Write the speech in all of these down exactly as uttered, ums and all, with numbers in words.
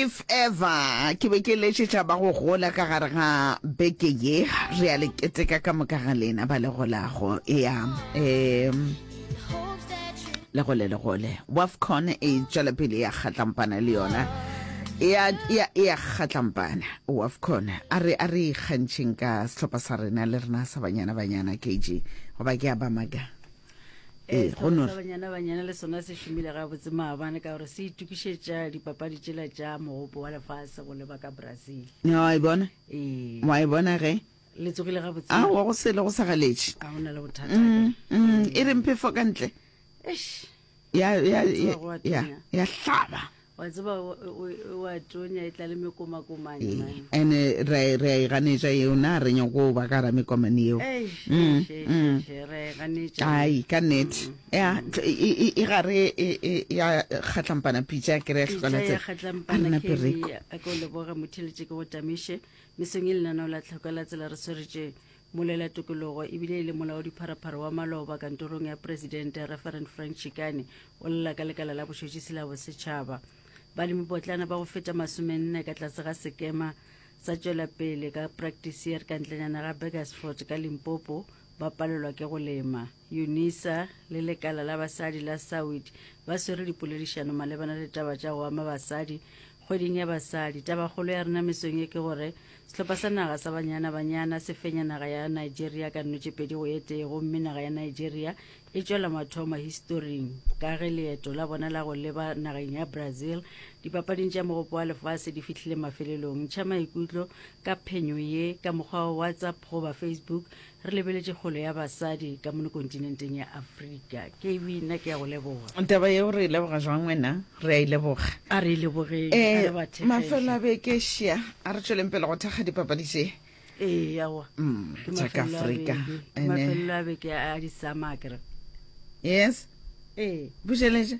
If ever ke be ke letšetša ba go gola ka gare ga beke ye, re a le keteka ka moka ga lena ba le golago. Ya, um le gole le gole. Wafcon e tšwela pele ya kgatlampana le yona. Ya ya ya kgatlampana Wafcon. A re a re ikgantšheng ka sehlopha sa rena le rena sa Banyana Banyana K G. Goba ke a ba maka. Ee, Ee, go no sehlopha sa Banyana Banyana le sona se šomile gabotse maabane ka gore se itokišetša dipapadi tšela tša mogopo wa lefase go leba ka Brazil. Wa e bona? Ee. Wa e bona ge? Le tsogile gabotse. A wa go sele go sa galetše. A go na le bothata. Mm, mm, e re mphefo ka ntle. Eish. Ya, ya, Wa tseba ya, go a ya, tonya. ya hlaba. Wa tseba o, o, o a tonya e tla le mekomakomane, Ee, man. ene re, re a e ganetša yeo, na re nyako ba ka ra mekomane yeo. Eish, Mm, eish, eish, mm. eish, re a e ganetša. Ai, ka nnete. Mm, Ya, mm. tl-, e, e, e gare e, e, ya kgatlampana pitša, ke re ya Pitša hlokana ya tsela. kgatlampana, A rena Kelly, pereko. a ke o leboge, motheletše ke go tamiše. Mesong e lenaneo la tlhoko la tsela re swaretše molela tokologo ebile e le molaodipharephare wa maloba kantorong ya presidente Reverend Frank Chikane o lla ka lekala la bošotšisi la bosetšhaba. Balemipotlana ba go feta masomenne ka tlase ga sekema sa tšwela pele ka practice year ka ntlenyana ga Burgersfort ka Limpopo ba palelwa ke go lema. UNISA le lekala la basadi la Sawid ba swere dipoledišano malebana le taba tša go ama basadi kgweding ya basadi. Tabakgolo ya rena mesong ye ke gore sehlopha sa naga sa Banyana Banyana se fenya naga ya Nigeria ka nno tše pedi go e tee, gomme naga ya Nigeria e tšwela mathomo historing ka ge leeto la bona la go leba nageng ya Brazil dipapading tša mogopo wa lefase di fihlile mafelelong. Ntšha maikutlo ka phenyo ye ka mokgwa wa WhatsApp goba Facebook. Re lebeletše kgolo ya basadi ka mono kontinenteng ya Afrika. K B, nna ke ya go leboga. Taba yeo re e leboga jwang wena? Re a e leboga. A re e lebogeng, a Eh, re ba thekgeng. mafelo a beke šia, a re tšweleng pele go thekga dipapadi tše. Ee, aowa. Mm, Ke tša ka mafelo a Afrika. beke. Ke Ene. mafelo a beke a disama, a kere. Yes. Ee. Bušeletše.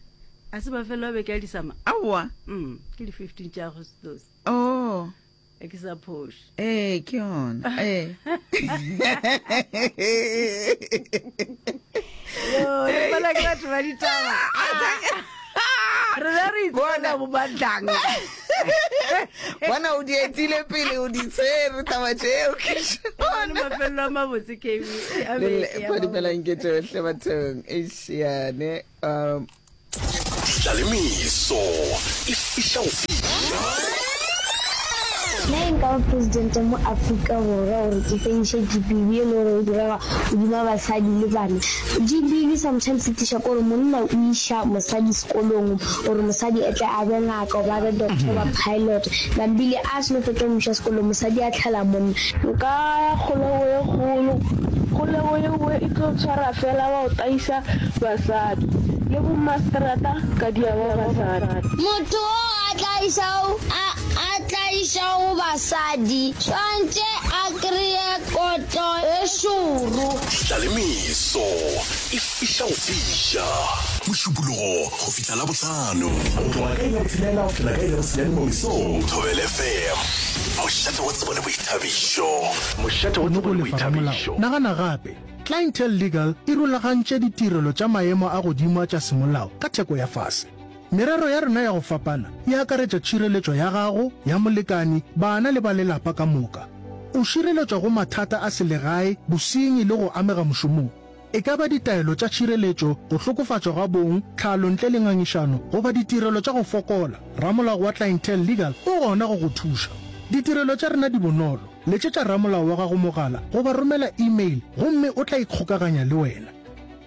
A se mafelo a beke a disama? Aowa. Mm, ke di fifteen tša Agostose. Oh. E ke sa phoše. Ee, ke yona. Ee. Yo, le bona ke batho ba ditaba. Re be re itsebela bo Mandlanga. Bona o di etile pele, o di tshwere taba tšeo, ke Bona mafelo a mabotse, K B. A Le beke ya le, padimelang ke mabotse. tšohle bathong. Eish, yane, um, Ditlalemeso e fiša go fiša. Nna e nka ba presidente mo Afrika Borwa gore ke fediše G B V e le gore e direga godima basadi le bana. G B V sometimes e tliša kore monna o iša mosadi sekolong gore mosadi e tle a be ngaka goba a be doctor goba pilot. Nambile a seno fetša go mo iša sekolong mosadi a tlhala monna. Nka ya kgolego ye kgolo, kgolego yeo e tlo tshwara fela wa go taisa basadi le bomastrata ka diaba basadi. Motho o a tlaišago, a, a tlaišago basadi swantše a kreye kotlo e šoro. Ditlalemeso e fiša go fiša. Mošupologo go fihla Labohlano. Go tloga ka iri ya botshelela go fihla ka iri ya bosenyane mo mesong. Thobela F M, mošate wa tsebo le boithabišo. Mošate wa tsebo le Go lefa ramolao. boithabišo. Nagana gape, Clientele Legal e rulagantše ditirelo tša maemo a godimo a tša semolao ka theko ya fase. Merero ya rena ya go fapana e akaretša tšhireletšo ya gago, ya molekane, bana le ba lelapa ka moka. O šireletšwa go mathata a selegae, bosenyi le go amega mošomong. E ka ba ditaelo tša tšhireletšo, go hlokofatšwa ga bong, tlhalo ntle le ngangišano, goba ditirelo tša go fokola. Ramolao wa Clientele Legal o gona go go thuša. Ditirelo tša rena di bonolo. Letšetša ramolao wa gago mogala goba romela email gomme o tla ikgokaganya le wena.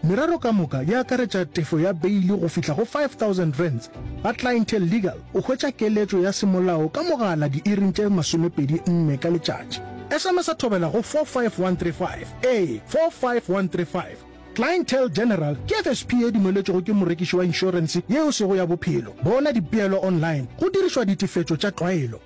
Merero ka moka e akaretša tefo ya beile go fihla go five thousand rands. Ga Clientele Legal o hwetša keletšo ya semolao ka mogala diiring tše masomepedi nne ka letšatši. S M S a thobela go four five one three five. Ee, four five one three five. Clientele General ke F S P e dumeletšwego ke morekiši wa inšorense yeo sego ya bophelo. Bona dipeelo online go dirišwa ditefetšo tša tlwaelo.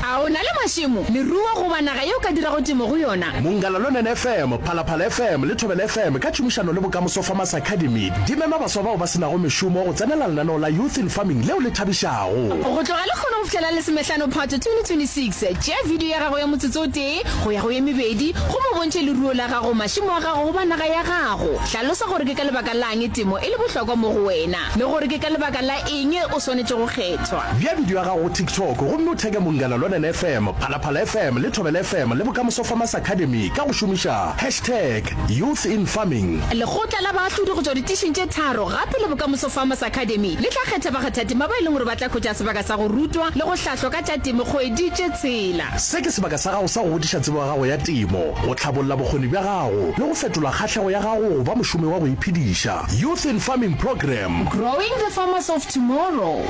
A o na le mašemo, leruo goba naga ye o ka dirago temo go yona? Mongala Lonene F M, Phalaphala F M le Thobela F M ka tšhomišano le Bokamoso Farmers Academy di mema baswa bao ba se nago mešomo go tsenela lenaneo la Youth in Farming leo le thabišago. Go tloga lehono go fihlela lesomehlano Phato twenty twenty-six, tšea video ya gago ya motsotso o tee go ya go ye mebedi gomme o bontšhe leruo la gago, mašemo a gago goba naga ya gago. Hlalosa gore ke ka lebaka la'ng temo e le bohlokwa mo go wena le gore ke ka lebaka la eng o swanetše go kgethwa. Bea video ya gago go TikTok gomme o theke Munghana Lonene F M, Phalaphala F M le Thobela F M le Bokamoso Farmers Academy ka go šomiša hashtag Youth In Farming. Lekgotla la baahlodi go tšwa ditišing tše tharo gape le Bokamoso Farmers Academy le tla kgetha bakgathatema ba e leng gore ba tla hwetša sebaka sa go rutwa le go hlahlwa ka tša temo kgwedi tše tshela. Se ke sebaka sa gago sa go godiša tsebo ya gago ya temo, go hlabolla bokgoni bja gago le go fetola kgahlego ya gago go ba mošomi wa go iphediša. Youth in Farming Programme. Growing the farmers of tomorrow.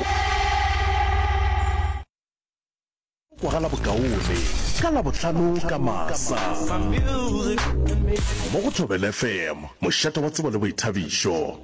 Kwagala bokaone ka Labohlano ka masa mo go Thobela F M, mošate wa tsebo le boithabišo.